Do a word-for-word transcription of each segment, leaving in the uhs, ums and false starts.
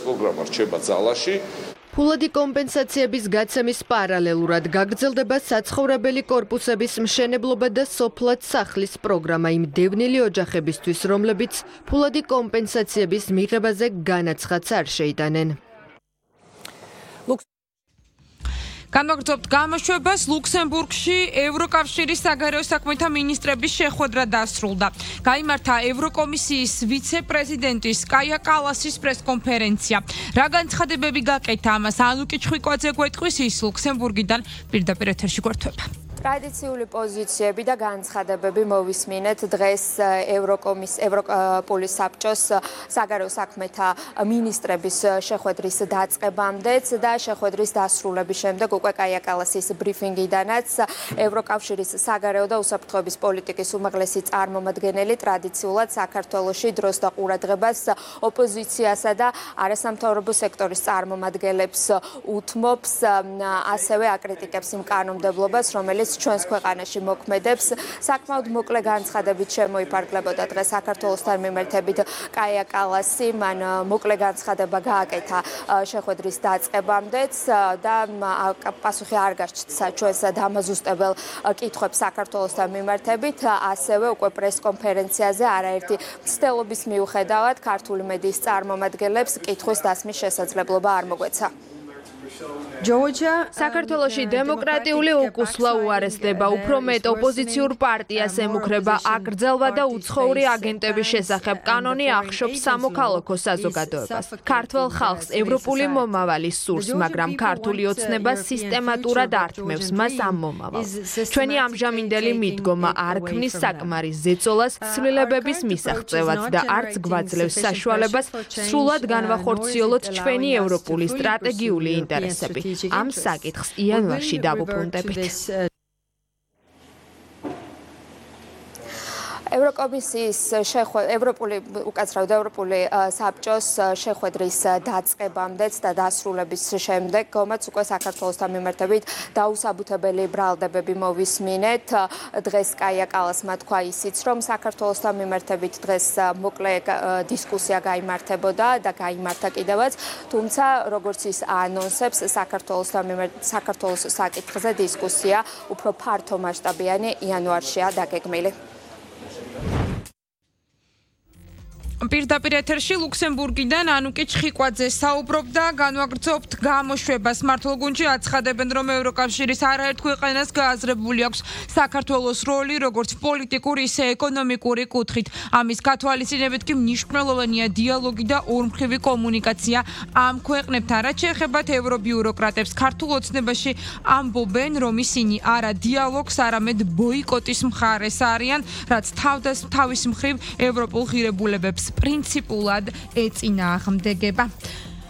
პროგრამა რჩება ძალაში. ფულადი კომპენსაციების გაცემის პარალელურად გაგრძელდება საცხოვრებელი კორპუსების მშენებლობა და სოფლად სახლის პროგრამა იმ დევნილი ოჯახებისთვის, რომლებიც ფულადი კომპენსაციების მიღებაზე განაცხადს არ შეიტანენ. განვაგრძობთ გამოშვებას. ლუქსემბურგში ევროკავშირის საგარეო საქმეთა მინისტრების შეხვედრა დასრულდა. გაიმართა ევროკომისიის ვიცე-პრეზიდენტის კაია კალასის პრესკონფერენცია. რა განცხადებები გაკეთა ამას ანუკი ჩხვიკვაძე გვეტყვის, ის ლუქსემბურგიდან პირდაპირ ეთერში გვერდება. ტრადიციული პოზიციები და განცხადებები მოვისმინეთ დღეს ევროკომის ევროპული საბჭოს საგარეო საქმეთა მინისტრების შეხვედრის დაწყებამდეც და შეხვედრის დასრულების შემდეგ უკვე კაია კალასის ბრიფინგიდანაც ევროკავშირის საგარეო და უსაფრთხოების პოლიტიკის უმაღლესი წარმომადგენელი ტრადიციულად საქართველოში დროს და ყურადღებას ოპოზიციასა და არასამთავრობო სექტორის წარმომადგენლებს უთმობს, ასევე აკრიტიკებს იმ კანონმდებლობას, რომელიც ჩვენს ქვეყანაში მოქმედებს. საკმაოდ მოკლე განცხადებით შემოიფარგლებოდა დღეს საქართველოსთან მიმართებით კაია კალასი. მან მოკლე განცხადება გააკეთა შეხვედრის დაწყებამდეც და პასუხი არ გაჩნდა ჩვენს დამაზუსტებელ კითხვებს საქართველოსთან მიმართებით. ასევე უკვე პრესკონფერენციაზე არაერთი მცდელობის მიუხედავად ქართული მედიის წარმომადგენლებს კითხვის დასმის შესაძლებლობა არ მოგვეცა. საქართველოში დემოკრატიული უკუსლა უარესდება, უფრო მეტ ოპოზიციურ პარტიას ემუქრება აკრძალვა და უცხოური აგენტების შესახებ კანონი ახშობს სამოქალაქო საზოგადოებას. ქართველ ხალხს ევროპული მომავალი სურს, მაგრამ ქართული ოცნება სისტემატურად ართმევს მას ამ მომავალს. ჩვენი ამჟამინდელი მიდგომა არ ქმნის საკმარის ზეწოლას, ცვლილებების მისაღწევად და არც გვაძლევს საშუალებას სრულად განვახორციელოთ ჩვენი ევროპული სტრატეგიული ინტერესები. ამ საკითხს იანვარში დავუბრუნდებით. ევროკომისიის ევროპული უკაცრავად ევროპული საბჭოს შეხვედრის დაწყებამდეც და დასრულების შემდეგ გომაც უკვე საქართველოსთან მიმართებით დაუსაბუთებელი ბრალდებები მოვისმინეთ. დღეს კაია კალასმა თქვა ისიც, რომ საქართველოსთან მიმართებით დღეს მოკლე დისკუსია გაიმართებოდა და გაიმართა კიდევაც, თუმცა როგორც ის ანონსებს, საქართველოსთან მიმართ საქართველოს საკითხზე დისკუსია უფრო ფართო მასშტაბიანი იანვარშია დაგეგმილი. პირდაპირ ეთერში ლუქსემბურგიდან ანუკი ჩხიკვაძე საუბრობდა. განვაგრძობთ გამოშვებას. მართლგუნდში აცხადებენ, რომ ევროკავშირის არაერთ ქვეყანას გააზრებული აქვს საქართველოს როლი, როგორც პოლიტიკური, ისე ეკონომიკური კუთხით. ამის გათვალისწინებით კი მნიშვნელოვანია დიალოგი და ორმხრივი კომუნიკაცია ამ ქვეყნებთან. რაც შეეხებათ ევრობიუროკრატებს, ქართულ ოცნებაში ამბობენ, რომ ისინი არა დიალოგს, არამედ ბოიკოტის მხარეს არიან, რაც თავის მხრივ ევროპულ ღირებულებებს პრინციპულად ეწინააღმდეგება.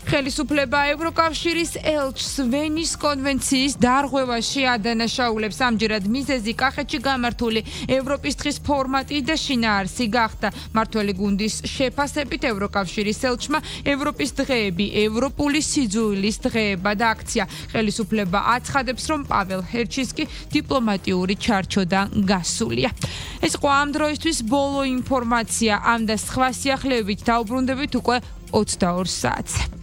ხელისუფლება ევროკავშირის ელჩს ვენის კონვენციის დარღვევაში ადანაშაულებს. ამჯერად მიზეზი კახეთში გამართული ევროპის დღის ფორმატი და შინაარსი გახდა. მმართველი გუნდის შეფასებით ევროკავშირის ელჩმა ევროპის დღეები ევროპული სიძულვილის დღეება და აქცია. ხელისუფლება აცხადებს, რომ პაվել ჰერჩისკი დიპლომატიური ჩარჩოდან გასულია. ეს იყო ამ დროისთვის ბოლო ინფორმაცია. ამ და სხვა სიახლეებით დაუბრუნდებით უკვე ოცდაორ საათზე.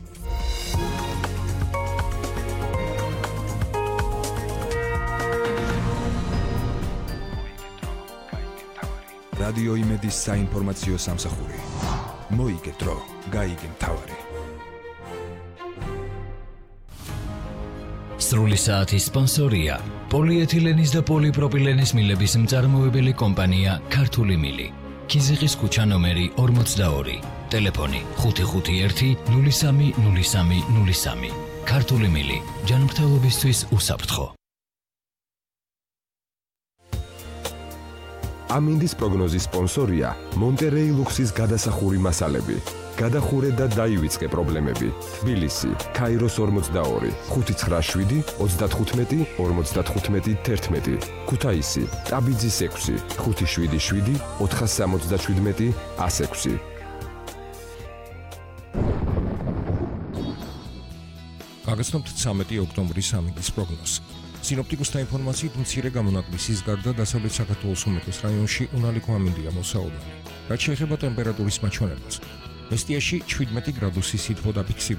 რადიო იმედის საინფორმაციო სამსახური. მოიგეთ დრო, გაიგე მთავარი. სრული საათის სპონსორია პოლიეთილენის და პოლიპროპილენის მილების მწარმოებელი კომპანია ქართული მილი. ქიზიყის ქუჩა ნომერი ორმოცდაორი. ტელეფონი ხუთი ხუთი ერთი ნული სამი ნული სამი ნული სამი. ქართული მილი ჯანმრთელობისთვის უსაფრთხო. ამინდის პროგნოზის სპონსორია მონტერეი ლუქსის გადასახური მასალები. გადახურე და დაივიწყე პრობლემები. თბილისი, ქაიროს ორმოცდაორი, ხუთი ცხრა შვიდი ოცდათხუთმეტი ორმოცდათხუთმეტი თერთმეტი. ქუთაისი, ტაბიძის ექვსი, ხუთი შვიდი შვიდი ოთხასამოცდაშვიდმეტი ასექვსი. გაგაცნობთ ცამეტი ოქტომბრის ამინდის პროგნოზს. სინოპტიკოსთა ინფორმაციით მცირე გამონაკლისის გარდა დასავლეთ საქართველოს უმეტეს რაიონში უნალიკო ამინდია მოსაუბრებელი. რაც შეეხება ტემპერატურის მაჩვენებელს, მესტიაში შვიდმეტი გრადუსი სითბო დაფიქსირდა.